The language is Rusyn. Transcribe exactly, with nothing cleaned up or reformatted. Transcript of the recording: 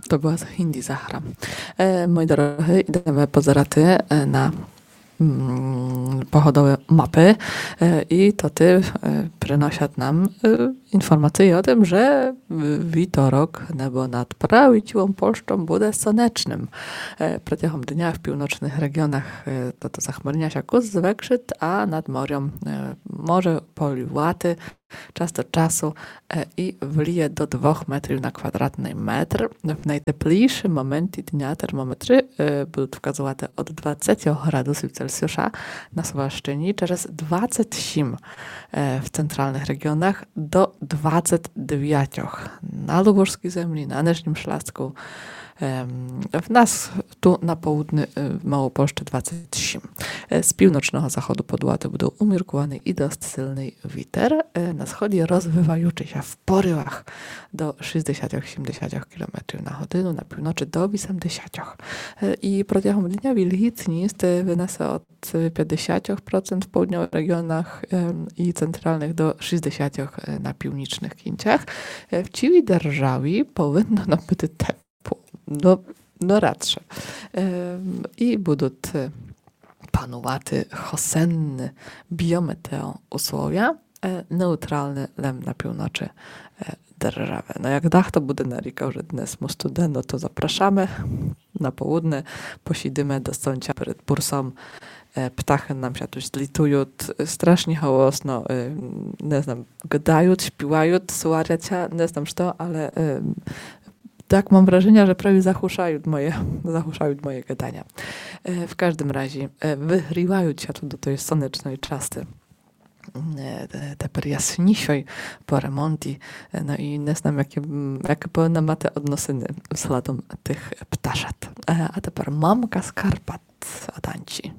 То была Хінді Сахара. Е, мої дорогы, ідеме позирати, е, на, м, погодовы мапы, е, і то ты, е, приносят нам, е, інформацыє о тым, же в вівторок небо над праву цілом Польщом буде сонечным. Е, протягом дня в півночных реґіонах, е, то, то захмарня ся кус звекшыт, а над морьом, е, може полювати час од часу, е, і вліє до двох метрів на квадратный метр. В найтеплійші моменты дня термометры, е, будут вказувати од двадцятьох градусів Цельсіуса на Сувалщыні через двадцять сім, е, в централных реґіонах до двадцять девятьох. На Любовскій землі, на Нижнім Шляску, ем, в нас ту на поудню, е, в Малопольщы двадцять сім. Е, з півночного заходу подувати буде уміркуваный і дост сильный вітер. Е, на сході розвиваючый ся в порывах до шістдесятьох, сімдесятьох кілометрів на годину, на півночы до вісемдесятьох. Е, і протягом дня вільгітность вынесе од пятдесятьох процент в поудньовых реґіонах, ем, і централных до шістдесятьох, е, на північных кінцях. Е, в цілій державі повинно нам быти тепло. Но, но радше. Ем, і будут, е, панувати хосенны біометеоусловя, е, неутралны лем на півночы, е, державы. Но як дахто буде нарікав, же днес му студено, то запрашаме на поудне, посідиме до сонця перед бурсом. Е, птахы нам ся ту злітуют, е, страшні голосно, е, не знам, гадают, співают, сварят ся, не знам што, але, е, так мам враженя, же праві заглушают моє, заглушают моє гаданя. Е, в каждым разі, е, выгрівают ся ту до той сонечной часты. Е, те-, тепер яснішой по ремонті. Е, но і не знам, яке, м, яке повинна мати односины взглядом тых пташат. Е, а тепер мамка з Карпат, Аданці.